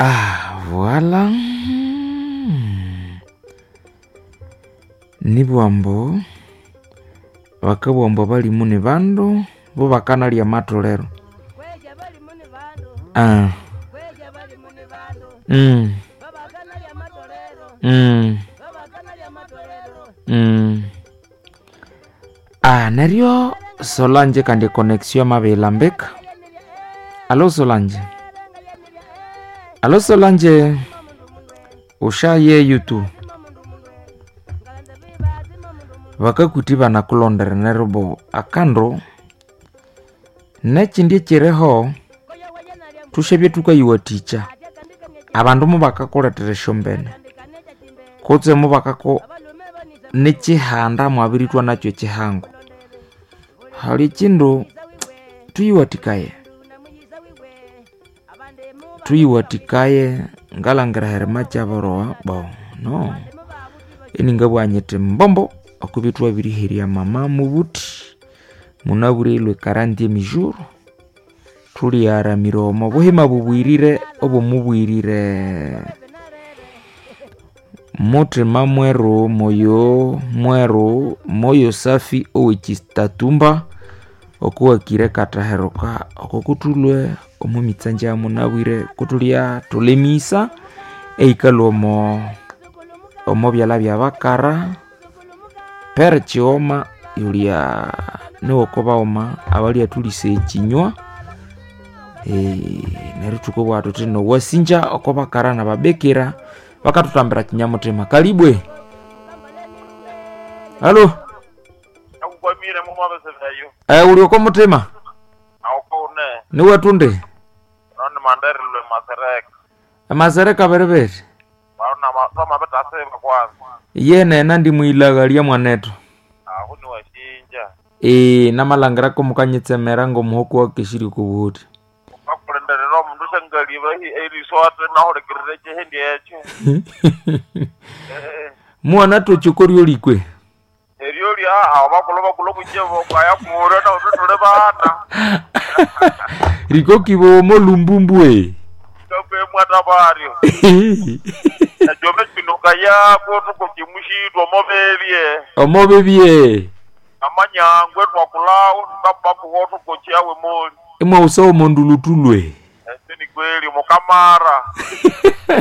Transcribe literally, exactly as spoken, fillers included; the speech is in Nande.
Ah, voilà. Nibwambo bakabugha ambu abalimu ni bandu bo bakanalya amatolero. Ah. Mm. Mm. Mm. Ah, neryo Solange kandi econnection yamabihilambika. Allo Solange. Allo Solange. Ushayeyu tu. Bakakuthi banakulondera neryo bo akandu nekindi ekiriho thushabye thukayiwathikya abandu mubakakulethera esyombene kutse mubakako nekyihanda mwabirithwa nakyo ekihango. Hali ekindu thuyiwathikaye, thuyiwathikaye ngalhangira herima kyaborowa bo no iningabugha nyithi mbombo okubya thwabiriherya mama mubuthi munabwire ilhwe quarantième jour thulyaramira omo buhima bubwirire obwomubwirire muthima mweru moyo mweru moyo safi owekitatumba okuwakire kataheruka oko kuthulwe omo mitsanja ya munabwire kutulya thulemisa eikalwa omo omo byalha byabakara pere kighoma yulya niwoko baghuma abalyathulisa ekinywa neryo thukabugha thuthi nowasinja oko bakara nababikira bakathutambira kinyamuthima. Kalibwe. Allo. Nakukwamire mumabese Eh, uli oko muthima? Awukune. Niwathunde? Noni manderilwe masereka. Amasereka beriberi. Barona twamabithasiba kwanza. Yenena ndi mwilaghalya mwanethu. Ahu niwashinja. Ee, namalhangirako mukanyitsemera ngomuhoko wakesirye okobuhuthi. Ukakulindirira omundu syangaliba eriso ati nahulikirira ekihindi ekyo. Eh, Mwana thoka olikwe. Eryo lya abo bakulhu bakulhu kunjevo kwaya kura nahuthi thuli bana. Rikokibomo lumbumbwe. Kakwemwata baryo. Ekyobe kinuka yako tukokimushitwa omobebye. Omobebye. Amanyangwe twakulawo tukabakuwo tukokyawe moli. Imwawusa omondulutulwe. Ese ni kweli mukamara.